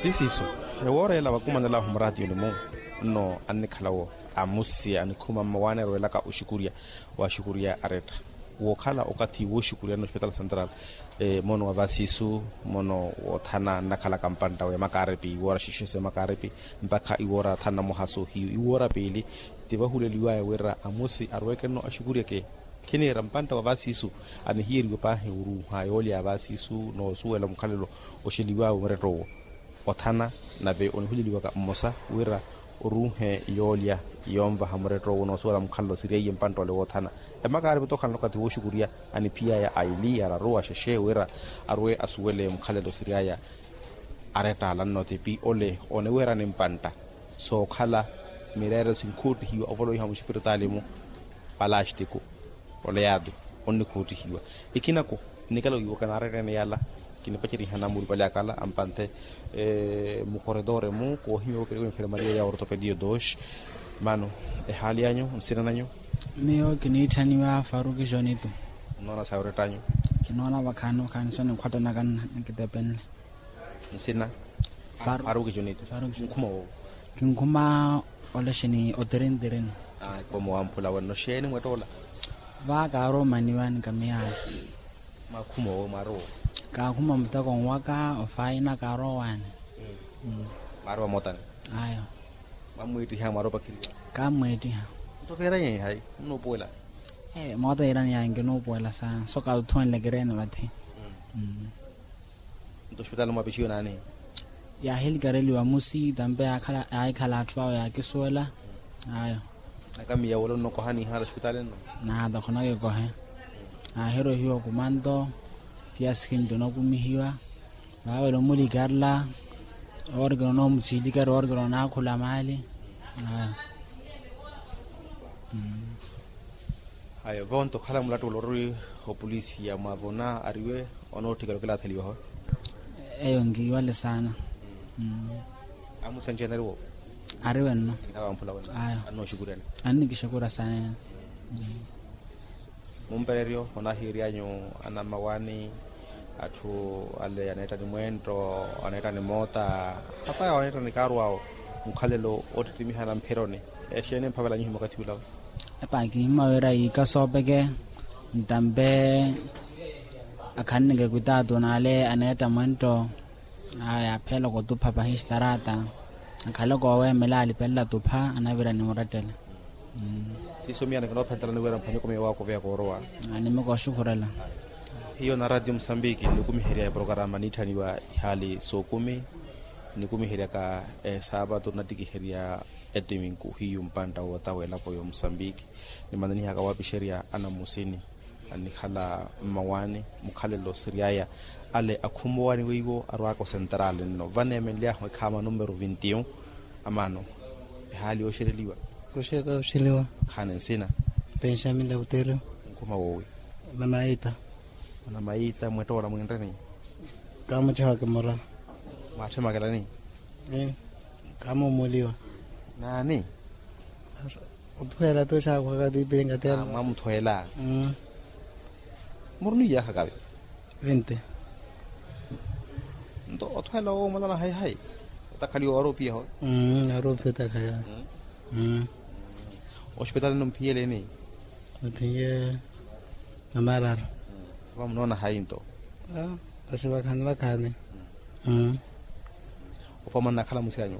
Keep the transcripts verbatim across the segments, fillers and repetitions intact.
Ti siiso, ewoora ela vakumanelaahu muraatiyoni-mu, nno annikhala-wo amusi anikhuma mmawaani arwelaka oxukurya, waaxukurya aretta wookhala okathi wooxukurya nno ospitaali central. Mono wa vasiisu, mono woothana nnakhalaka mpantta wa emakaaripi iwoora xexe sa emakaaripi, mpakha iwoora thanu na muhasu hiyu iwoora piili. Ti vahuleliwaya wira amusi arweeke nno axukuryeke. Khiniira mpantta wa vasiisu anihiyeriwe paahi oruuha yoolya ya vasiisu noosuwela mukhalelo oxeliwaawe muretto owo. Othana nave onihuleliwaka mmosa wira oruuhe yoolya yoonvaha muretto owo noosuwela mukhalelo siriyeiye mpantta ole woothana. Emakaaripi tokhalana okathi wooxukurya aniphiyaya aili araru axexe wira arwe asuwele mukhalelo siriyaya. Aretta ala nno tipi ole oniweerani mpantta sookhala mireerelo sinkhuuttihiwa ovolowiha muxipiritaali-mu. Palastiku oleyaatu onnikhuuttihiwa. Ikinako nnikala wiiwaka naaretteene yala kinipaceriha namulupale akala ampanthe mukoritore-mu koohimya wokeriwa enfermaria ya ortopediyo dos. Mano ehaali anyu nsina nanyu? Miyo kiniitthaniwa faruki jonitu. Nnoona sayi oretta anyu? Kinoona vakhaani vakhaani so ninkhwattanaka nikitepenle. Nsina? Faruki jonitu. Nkhuma woowo? Kinkhuma olexeni otirintirini. Komo wamphula wenno xeeni mwettoola? Vaaka aroomaniwani kamiyaayo. Mwakhuma owo mwarowa? Kaakhuma muteko nwaka ofaina kaarowaani. Mwarowa mootani? Ayo. Mwammwiittiha mwaropakheriwa? Kammwiittiha. Nto veeranye hayi? Nnuupuwela? Moota yiirani yaanki nuupuwela saana so kaatuthuwenle kireeni vathi. Nto ospitaali mwapixiwe naani? Yaahilikariwa musi tampe yaahikhala atthu awo yaakisuwela. Ayo. Nakamiya wala onnokohani ihaala ospitaali nno? Naata khonakikohe. Aahirohiwa kumanto. Tiya sikinto onokumihiwa. Vaawela omulikarela. Oorikela onoomutsilikari oorikela onaakhula maali. Ayo. Ayo vonto okhala mulattuwelo ori opolisi yamwavona ariwe onootthikela okilatheliwa ho? Eyo nkiiwale saana. Amusanci anariwo? Ariwe nno. Annoxukurya annikixukura saana ene. Mumpereryo onahiiryanyu anammawaani atthu ale aneetta ni mwentto, aneetta ni moota, hata awo aneetta ni kaaru awo. Mukhalelo oottittimiha na mphironi exeeni emphavela nyuhimya okathi ulawo? Epa kihimya wira yiika soopeke. Ntampe akhaneneke kwitaatu n'ale aneetta mwentto. Aya apheela okutupha pahi staraata. Akhale kooweemela alipelela tupha anavira ni murettele. Siiso miyana kinoophentela niwira mphanyoko miyo waakuveya koorowa. Nimikooxukhurela. Hiyo na ratio musambiki nikumiherya eprokarama niitthaniwa ihaali sookumi. Nikumiheryaka esaapatu nattikiherya ettiminku hiyu mpantta wootawa elapo y'omusambiki. Nimananihaka waapixerya anamusini annikhala mmawaani. Mukhalelo siryaya ale akhumowaani weiwo arwaaka osentrali nno vaneemenly'ahu ekhaama numero vinti un. Amaano ehaali yooxereliwa? Koxeka oxeliwa. Khaani nsina? Penxamin lauteru. Nkhuma woowi? Namaita. Namaita mwettoola mwinreni? Kaamucihaka mura. Mwaatthemakelani? Kaamuumuliwa. Naani? Othuwela tu xaakhwaka tiipinga tela. Mwamuthweela? Muruni iyaakhaka ve? Vinte. Nto othweela owo omwalana hayi hayi? Otakhaliwa waaropiya ho? Waaropiya otakhaliwa. Ospitaali nno mphiyeleni? Mphiyele. Namararu. Vamunoona hayi nto? Vasi vakhaani vakhaani. Opama nnakhala musi anyu?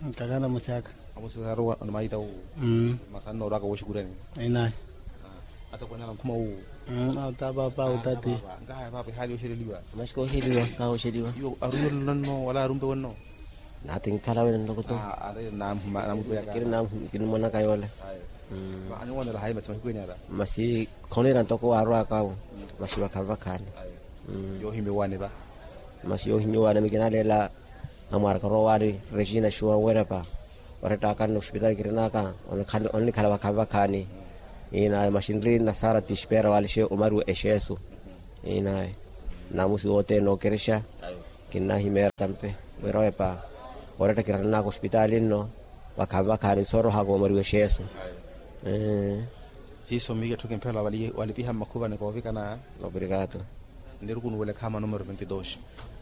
Ntakhala musi aka. Amusi aruwa onamaita uwu? Masi annoorwaka wooxukurani? Inayi. Atokweene ala nkhuma uwu? Ata paapa utati. Nkahaya paapa ehaali yooxereliwa? Masi kooxeliwa. Kaaxoxeliwa. Iyo arumelelo nno wala arumpe wenno? Nati nkhala wene nlokoto. Kiri nimonaka yoole. Masi khoniira ntoko waarwaka awo. Masi vakhaani vakhaani. Yoohimya owaani va? Masi yoohimya owaani mikinaleela. Amwaraka orowa owaani regina xuwa werepa. Orettaka nno ospitaali kirinaka. Onnikhala vakhaani vakhaani. Inayo masi nri nasara tispera waalixe omariwa exeesu. Inayo namusi wothene nookerexa. Kinnahimeera tampe wira wepa oretta kirananaka ospitaali nno. Vakhaani vakhaani soorohaka omariwa exeesu. Siiso miyo etthu kimphela walipiha mmakhuvani koovikana. Obrigado. Nnirukunuwele khaama numero vinte dos.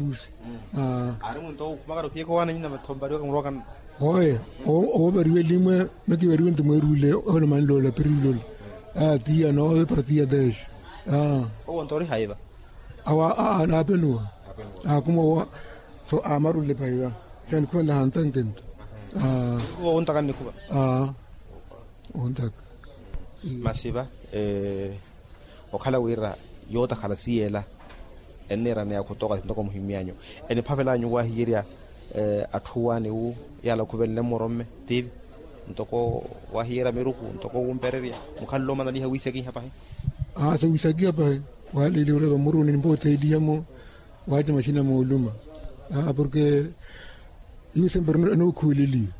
arusi. Aari munto okhumaka nophiyeka owaana nyina mathompariwaka murwakana. Oye, owopariwe limwe. Mekivariwe nto mweeruule. Olomaniloola pirilola. Tiya noopara tiya teexa. Owo nto ori haiva. Awa aa naapenuwa. Akuma owa. So amarule paiva. Xanikhuvanela hantanke nto. Ontaka nnikhuva. Ontaka. Masi va okhala wira yootakhala siyela enniiraneya khutooka ntoko muhimyanyu. Eniphavelanyu wahiyerya atthu waani wu yaala okhuvenle mmoromme tivi ntoko wahiyerya miruku ntoko wumpererya mukhalelo omanaliha wiisakiha pahi. Aa so wiisakiha pahi. Waaleliha oreva muruni nimpootheliha-mo. Waaca maxina mooluma. Porke iwe sempre enookhuweleliwa.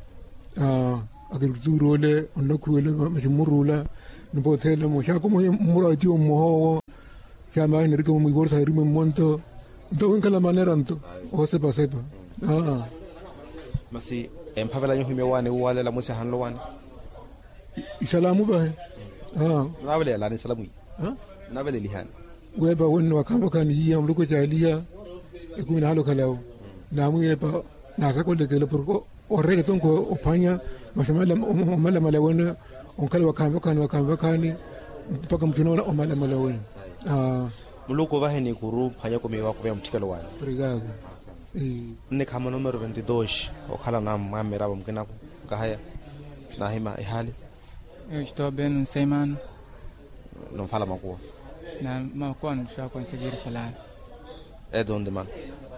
Akiritutuuru ole onnakhuwela maxi mmuruula. Nimpoothela-mo xaakuma ohiya mmurwa etiwo mmoha owo. Xaamaahi nirikemo mwiivoru sahirimwe mmonto. Nto winkhala manera nto oosepasepa. Masi emphavelanyu ohimya owaani wuwalela mwisi ahanle owaani. Isalamu vahe. Nunaavelelani salamu iya? Nunaavelelihani? Weepa wenno wakhaani wakhaani iya muluku ecaaliha. Ekumi naalokhalawo. Naamwiyeepa naasakolekela porke oreele tonko ophwanya. Masi omalamala wene onkhala wakhaani wakhaani wakhaani wakhaani mpakha mutthuna omalamala wene. Muluku ovahe nikuru mphwanya kumiwa kuveya mutthikelo wanyu. Nne khaama numero ventidos. Okhala na mwamiravo mukinaku. Kahaya. Nahima ehaali. Estou bem, não sei, mano. Nunfala makuwa? Na makuwa nuswa conseguir falar. É de onde, mano?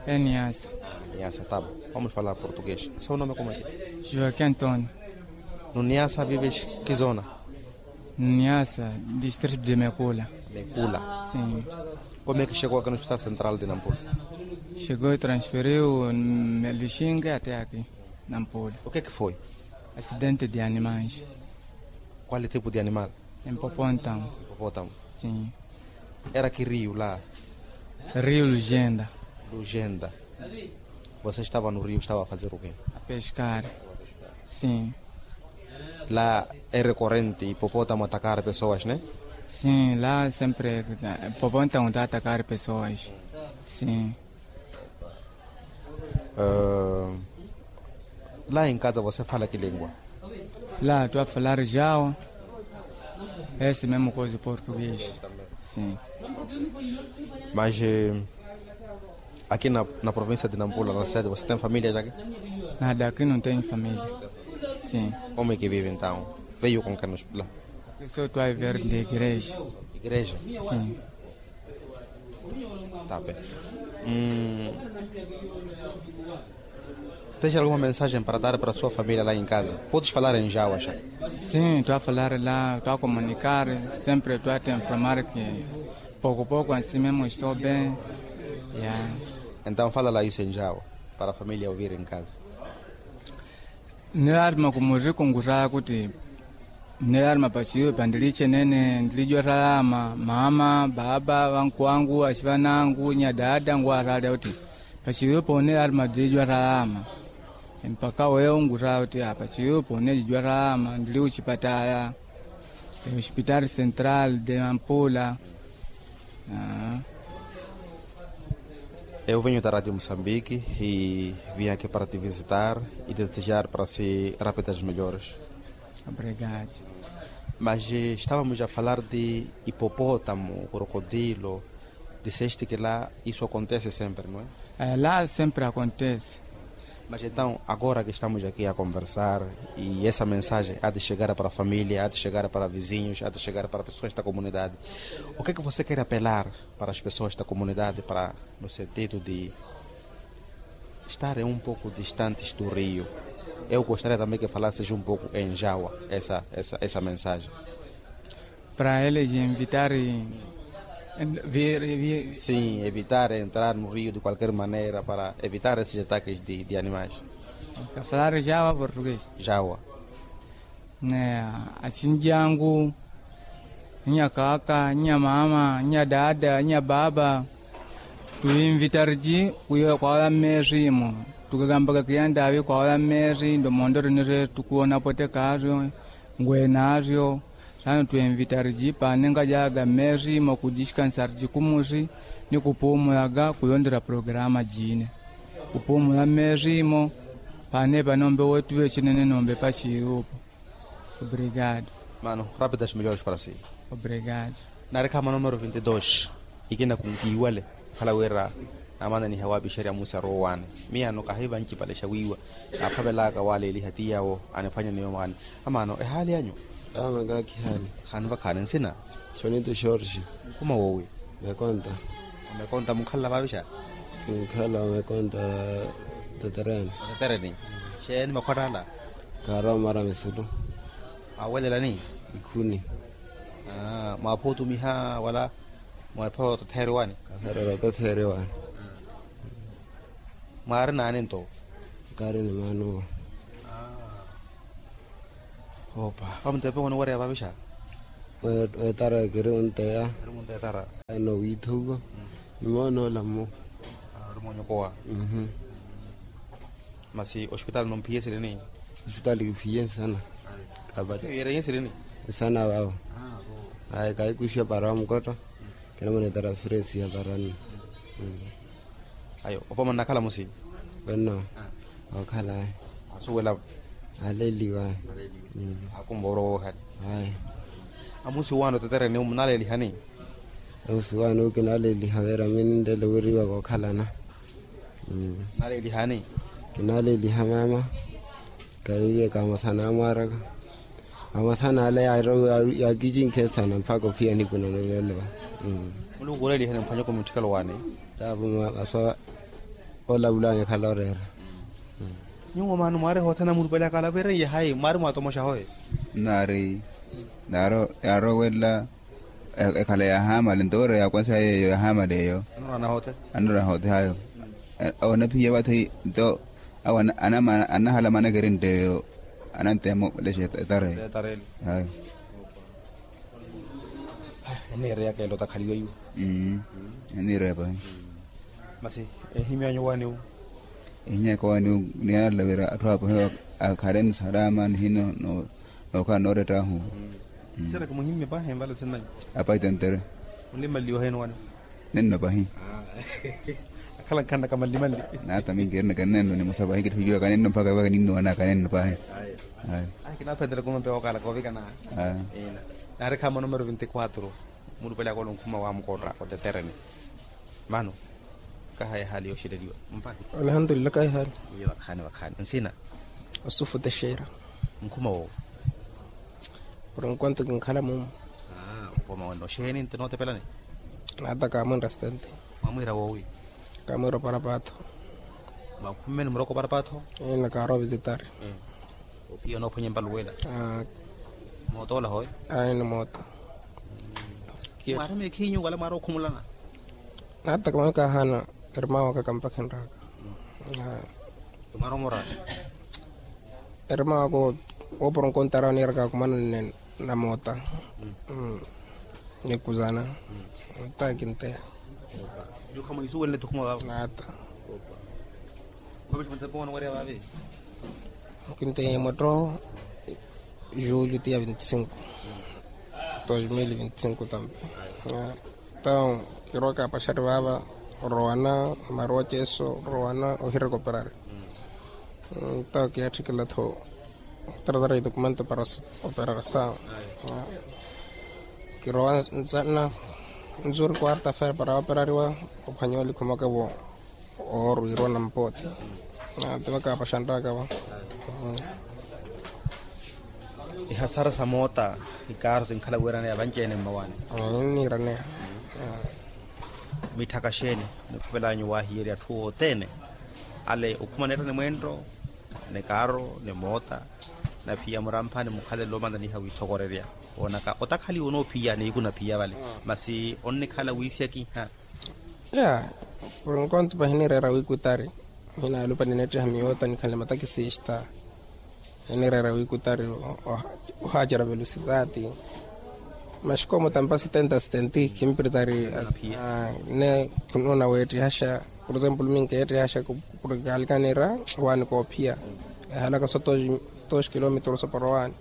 É niasa. Niasa, tá bom. Vamos falar português. Seu nome como é que é? Joaquim António. No niasa vives que zona? Niasa, distrito de Mekula. Mekula. Sim. Como é que chegou aqui no hospital central de Nampula? Chegou e transferiu me lixinga até aqui. Nampula. O que é que foi? Acidente de animais. Qual é tipo de animal? Empopóntamo. Empopóntamo. Sim. Era que rio lá? Rio Lugenda. Lugenda. Você estava no rio, estava a fazer o quê? A pescar. Sim. Lá é recorrente hipopótamo atacar pessoas, né? Sim, lá sempre hipopótamo está a atacar pessoas. Sim. Lá em casa você fala que língua? Lá estou a falar jawa. Esse mesmo coisa português. Sim. Mas aqui na província de Nampula, na cidade, você tem família já aqui? Nada, aqui não tenho família. Sim. Como é que vive então? Veio com quem nos lá? Aqui só estou a viver de igreja. Igreja? Sim. Tá bem. Tens alguma mensagem para dar para a sua família lá em casa? Podes falar em jawa, já. Sim, estou a falar lá, estou a comunicar, sempre estou a te informar que pouco pouco assim mesmo estou bem. Então fala lá isso em jawa para a família ouvir em casa. Nne laarima kumurikunguraya kuti nne laarima paciwe pandilicenene ndilijwaraya maama baaba vankwangu acivanangu nyadaada ngwaraalya kuti paciwe poone laarima ndilijwaraya mpaka weyo nguraya kuti paciwe poone lijwaraya ndili ocipataya hospitali central de nampula. Eu venho da rádio moçambique e vim aqui para te visitar e desejar para si rápidas melhores. Obrigado. Mas estávamos a falar de hipopótamo, crocodilo. Disseste que lá isso acontece sempre, não é? Lá sempre acontece. Mas então agora que estamos aqui a conversar e essa mensagem há de chegar para a família, há de chegar para vizinhos, há de chegar para pessoas da comunidade, o que é que você quer apelar para as pessoas da comunidade para no sentido de estarem um pouco distantes do rio? Eu gostaria também que falasses um pouco em jawa essa mensagem. Para eles evitarem. Sim, evitar entrar no rio de qualquer maneira para evitar esses ataques de animais. Ka falar jawa português? Jawa. Achinjangu, nya kaka, nya mama, nya dada, nya baba, tuinvitariji kwawala mmeerimo. Tukakambaka kiyandaavi kwawala mmeeri nto mondo rinire tukuwona pwetekaaryo ngwenaaryo. Saana twinvitariji paanenkajaga mmeerimo kujixikansariji kumuxi ni kupuumulaga kuyondera programa jine. Kupuumula mmeerimo. Paane panoombe weetuve cinene noombe paxiirupo. Obrigado. Mano, rápidas melhores para si. Obrigado. Nari khaama numero vinte dos. Ikina kunkiiwale. Khala wira namananiha waapixerya musi arowaani. Miyano kahiva ncipalexa wiiwa naaphavelaka waleeliha ti yawo aniphwanya ni yoomaani. Amaano ehaali anyu? Awe makaakhi haali. Khaani vakhaani nsina? Xonito xorxi. Mukuma woowi? Mekonta. Mekonta munkhalala vaavixa? Kinkhala mekonta. Tetereni. Tetereni. Xeeni makhwattala? Khaara omara misulu. Mwawelelani? Ikhuni. Mwaapha otumiha wala mwaapha ototheeriwani? Kaferera ototheeriwani. Mwaari naani nto? Kaari ni maanuwa. Opa vamutepe wani wareya vavixa? Wetara kiri wunteya. Kiri wunteya etara. Eno wiithuko. Ni moonoola mmo. Ori moonyokowa. Masi ospitali nomphiye sirini? Ospitali kiphiye nsana. Kapata. Yerenye sirini? Nsana vavo. Ayi kaikuxiwa para wa mukotta. Kinamonetera firesi ya para nno. Ayo opoma nnakhala musi. Wenno okhala. Asuwela. Aleliwa. Akumva orowa okhali. Ayi. Amusi wano tetereni munalelihani. Amusi wano kinaleliha wira mi ninlelo wiriwa kokhalana. Nalelihani. Kinaleliha mama. Kaleliye kamasana amwaraka. Amasana ale yakikinkhe sana mpaka ophiya nikuna nolelewa. Muluku olelihani mphanyoko mutthikalo wani. Tapo maso olavulanya khala oreera. Nyuwo mano mwari hothana mulupale akalavireye hayi mwari mwatomoxa hoye. Nari nari yarowelela. Ekhala yahamale nto wira yakwansa yeyo yahamale eyo. Anora hote hayo. Onaphiya vathi nto awo anahala manakeri nteyo. Anantemo lexa etareyo. Hayo. Eniireyaka elo takhaliwa iwo. Eniireya pahi. Masi ehimyanyu waniwo. Ehinyaka waniwo niyanalla wira atthu apahiwa akhareni salama nihino. Nookhala noorettahu. Sira kimuhimme pahi emvala sinnanyu. Apahi tentere. Onlimalliwa heno wani. Nenno pahi. Akhala nkhanna kamallimalli. Nata mingi erinaka nenno nimosa pahi kitthuliwaka nenno mpaka vaka ninnowanaka nenno pahi. Ayi. Kinaphendela kumampe wokala kovikana. Nari khama numero vinti quatro. Mulupale akolo nkhuma wa mukotta oteterene. Mano. Kahayi ehaali yooxeleliwa. Mpahi. Alhamdulillah kahayi ehaali. Wiiye vakhaani vakhaani nsina. Osufu texeera. Nkhuma woowi. Por enquanto kinkhala mumu. Opoma wenno oxeeni nti nootepelani. Nata kaamwinra stenti. Mwamwiira woowi. Kaamwiira oparapaatho. Mwakhummeni muroko oparapaatho. Ina kaaro visitari. Ophiya onoophwanya empaluwela. Moota ola hoye. Ayi ni moota. Mwaari meekhinyu wala mwaari okhumulana. Nata kamano kahaana. Erima waka kampakhenraka. Mwaari omora. Erima waka woopora onkontara oniiraka kumana nne na moota. Nikuzana. Nta kinteya. Nata. Kinteya mwattooho. Julio tiya vinti cinco. Dos mil vinti cinco tampe. Nta kirowaka apaxari vaava. Orowana maruwa ceso orowana ohiraka operari. Nta kiyaatthikela-tho. Tratar e documento para operarisa. Kirowa nzuri quarta fera para operariwa. Ophwanyiwa likhomaka vo. Oorwiirwa nampooti. Tivaka apaxanraka va. Ihasara sa moota. Ikaaro tinkhala wiiraneya vanci-ene mmawaani. Nniiraneya. Mitthaka xeeni nikhuvelanyu waahiyerya atthu othene. Ale okhuma neetta ni mweento ni kaaro ni moota. Naphiya muramphani mukhalelo omantaniha wiithokorerya. Woonaka otakhaliwa onoophiya niiku naphiya vale. Masi onnikhala wiisiyakiha. Ya por enquanto pahinireera wikutari. Hinaalupa nineettiha miyoota nikhanle matakisista. Hinireera wikutari. Ohaacerya velocidade. Maxikomo tampa setenta setenti khimpiritari. Ne khunuuna weettihaxa. Por exemplo minkeettihaxa. Porque kaalikaniira waani koophiya. Ehalaka so dos kilómetros oporowaani.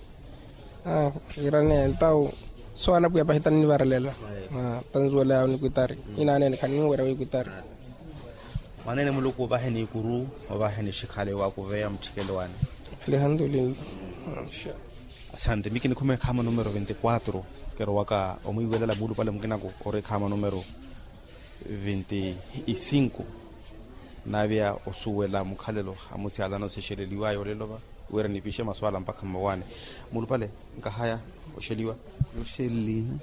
Aa kiirane entawu. So anapwiya pahi tannivarelela. Tanzuwela yawo nikwitari. Inaneene khanniwerya wikwitari. Mwaneene muluku ovahe ni ikuru. Ovahe ni xikhale wakuveya mutthikelo wane. Alhamdulillah. Asante mi kinikhuma ekhama numero vinti quatro. Kirowaka omwiiwelela muulupale mukinaku ori ekhama numero vinti cinco. Naaviya osuwela mukhalelo amusyalana osixeleliwaya olelo va. Wira nipixe maswala mpakha mmawaani. Mulupale nkahaya oxeliwa. Oxeliha.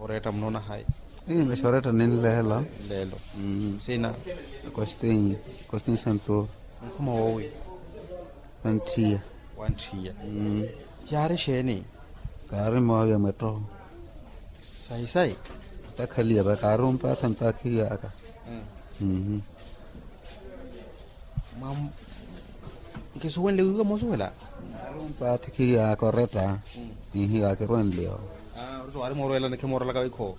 Oreetta munoona hayi? Ii mixi oreetta ninleelo. Nleelo. Sina? Costin. Costin santur. Nkhuma woowi? Wantthiya. Wantthiya. Yaari xeeni? Kaari moovi ya mwetto. Sayi sayi. Takhaliya va kaari ompaatha ntaakhiyaka. Nkisuwenle wiiwa moosuwela. Kaari ompaatha khiyaka oretta. Ihi yaakirwenleyo. Ori so waari moorwelana khimoorwelaka wikho.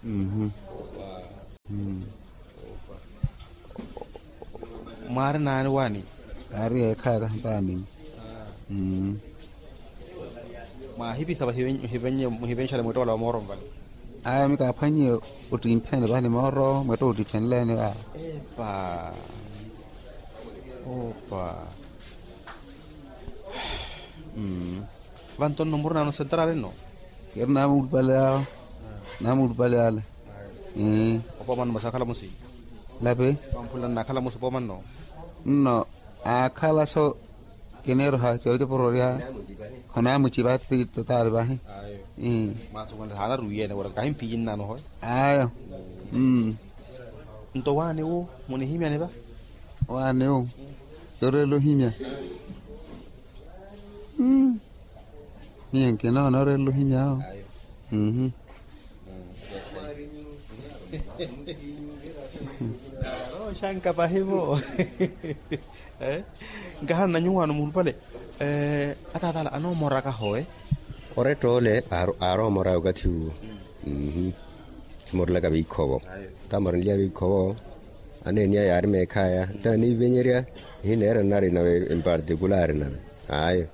Mwaari naani waani? Kaari yeekhayaka mpaani. Mwaahipisa va muhivenxale mwittoola wa mooro nvale. Aya mi kaaphwannye ottimphene vahi ni mooro mwetta ottiphenlene va. Epa. Opa. Vanto nno murinaano sentrali nno. Keri naamulupale awo. Naamulupale ale. Opoomanno masi akhala musi. Lapi. Vamphula nnaakhala musi opoomanno. Nno aakhala so. Kineeroha coocoporory'awe. Khonaamucipa ati totaari vahi. Masi owanle haana ruwiyene wala kahimphiyi nnaano hoyo. Ayo. Nto waani wu munihimyani va. Waani wu. Yoreela ohimya. Hiyo nkinoona oreela ohimya awo. Oxanka pahivo. Nkahana na nyuwaano muhulupale. Ataatala anoomoraka howe. Oretta ole aaroomoraya okathi uwo. Khimorelaka veikhovo. Tamorenliya veikhovo. Aneeniya yaari meekhaya ntaaniivenyerya. Nihineera nnari nawe empartikulari nawe. Ayo.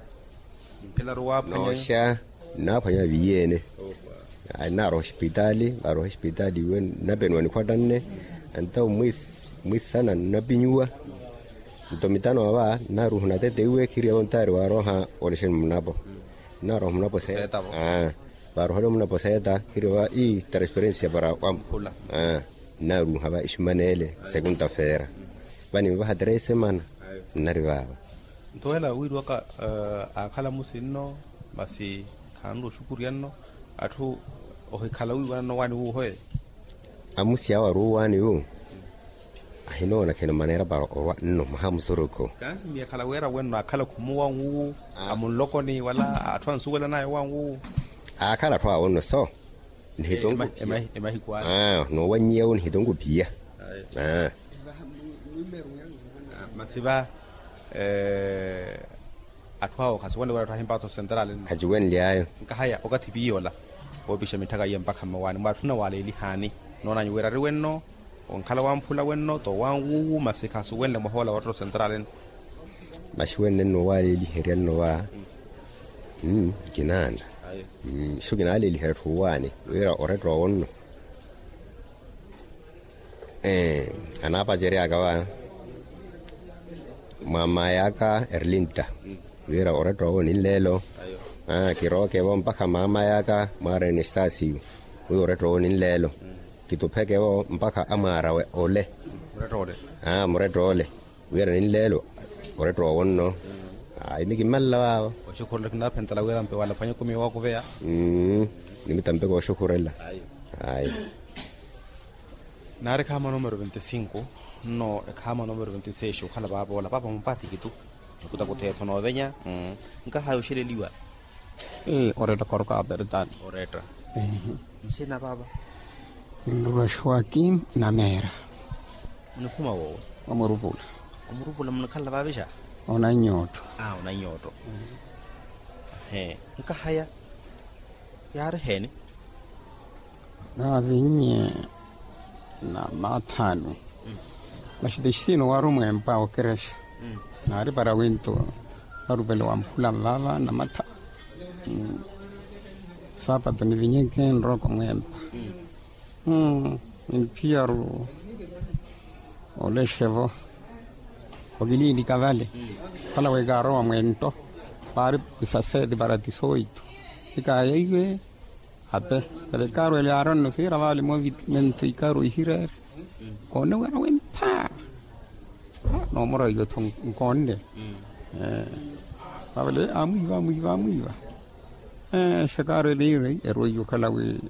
Nooxa nnaaphwanya viiyene. Nnaaroha osipitaali vaaroha osipitaali iwe nnapenuwa nikhwattanne. Entawo mwisana nnapinnyuwa. Nto mitano ava nnaaruuha onatete iwe khiriyevo ntaari waaroha olexeni munapo. Nnaaroha munapo seeta. Vaarohale munapo seeta khiriyevo ii transferensia para wamphula. Nnaaruuha va ixumaneele sekunta feera. Vaninvaha três semana nnari vaava. Nto wela wiiriwaka aakhala musi nno masi khaanula oxukurya nno. Atthu ohikhala wiiwanano waani wuuhoye. Amusi awo aruuwaani wu ahinoona khino maneera para orwa nno mwaha musurukhu. Kaahimya ekhala wira wenno aakhala khumuwa nwu amunlokoni wala atthu ansuwelanaya wa nwu. Aakhala atthu awo nno so nihitonku. Emahiku aya. Noowannyiya wu nihitonku phiya. Masi va atthu awo khaciwenle wira atthu ahimpatho sentrali nno. Khaciwenly'ayo. Nkahaya okathi piiya ola woopixa mitthaka iye mpakha mmawaani mwa atthu nawaleelihaani noonanyu wira ari wenno onkhala wamphula wenno toowanwuwu masi khasuwenle mwaha ola wa ottetto sentrali nno. Masi wenle nno owaaleeliherya nno va. Kinaana. Iso kinaaleeliherya atthu owaani wira oretta owo nno. Anaapaceryaka va mwa maay'aka erlinta wira oretta owo ninleelo. Kirooke vo mpakha mamay'aka mwaarene esitasiyu wira oretta owo ninleelo. Kituphekevo mpakha amwaarawe ole. Muretta ole wira ninleelo oretta owo nno. Ayi mi kimmalela vaavo. Oxukhurela kinaphentela wira mpe wala phwanya ekumi yookuveya. Nimitampeke oxukhurela. Ayi. Naari ekhaama numero veinticinco nno ekhaama numero veintiseis okhala vaavoola paapa mupathi kitu. Nikutakuta etho noovenya. Nkahaya oxeleliwa. Oretta khorka apertani. Oretta. Nsina paapa. Nrula joaquim nameera. Onikhuma woowe. Omurupula. Omurupula munikhalela vaavixa. Onanyootto. Onanyootto. Nkahaya yaari heeni. Naavinnye na mathanu. Maxitexitino waari omweempa okerexa. Naari para wintu marupele wamphula nvaava na matha. Saapatu nivinyeke nrooko mweempa. Niphiyaru olexevo. Okiliilika vale. Khala wekaarowa mwento. Vaari tisaseeti para tisoitu. Ikaayo iwe. Ape vale ikaaru ele aaronno siira vaale movimentu ikaaru ihireere. Koone wira wempha. Noomora iwe tho nkoonne. Vavale amwiiva amwiiva amwiiva. Xakaaru ele iwe eruwa iwe okhala wi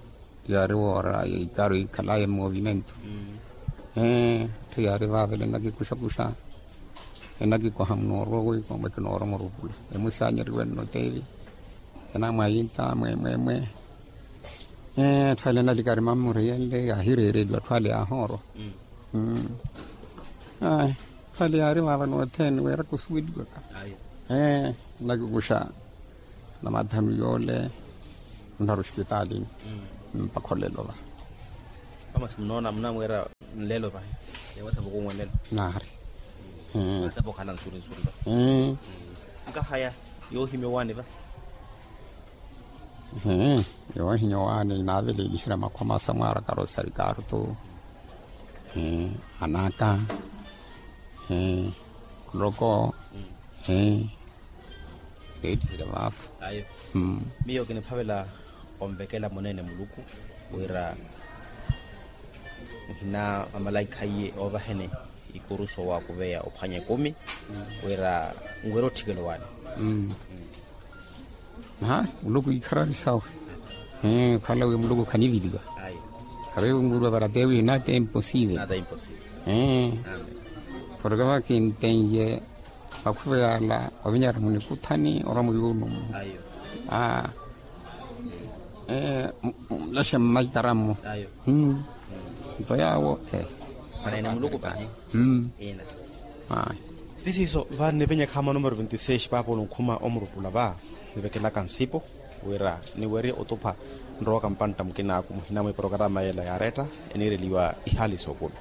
yaari woora ikaaru ikhalaye mmovimentu. Etthu yaari vaavale enakikuxakuxa. Enakikoha munoorowa wi koomwe kinoorowa murupula emusi anyeriwe nno teevi. Enamwayinta mwemwemwe. Etthu ale enalikari mammuriyenle yaahireereliwa atthu ale yaahoorwa. Atthu ale yaari vaava nothene wira kusuweliwaka. Enakikuxa na mathanu yoole. Nnaru oxipitali mpakha olelo va. Amasi munoona munamweera nlelo vahi. Ewasavu kunwe nlelo. Naari. Atapokhala nsuri nsuri va. Nkahaya yoohimya owaani va. Yowe hinyowani naaveleliherya makhwama samwaaraka rosari kaartu. Anaka. Khuloko. Leettiherya vaafu. Miyo kiniphavela onvekela muneene muluku wira muhina amalaikha iye oovaheni ikuruso wa kuveya ophwanya ekumi wira nwere otthikelo wani. Muluku ikhararisau. Khwala wi muluku khaniviliwa. Khavewi nkurwa para tewi nata imposive. Porke vakintenye vakhuveya ala ovinyara munikuthani ora muyunumu. Mulaxe mmaitaramu. Nto yawo. Tisiiso va nnivenyekha ama numero vinti seis paapolo nkhuma omurupula va nivekelaka nsipo wira niwerye otupha nrowaka mpantta mukinaaku muhina mwi porokarama yela yaaretta eniireliwa ihaali sookulu.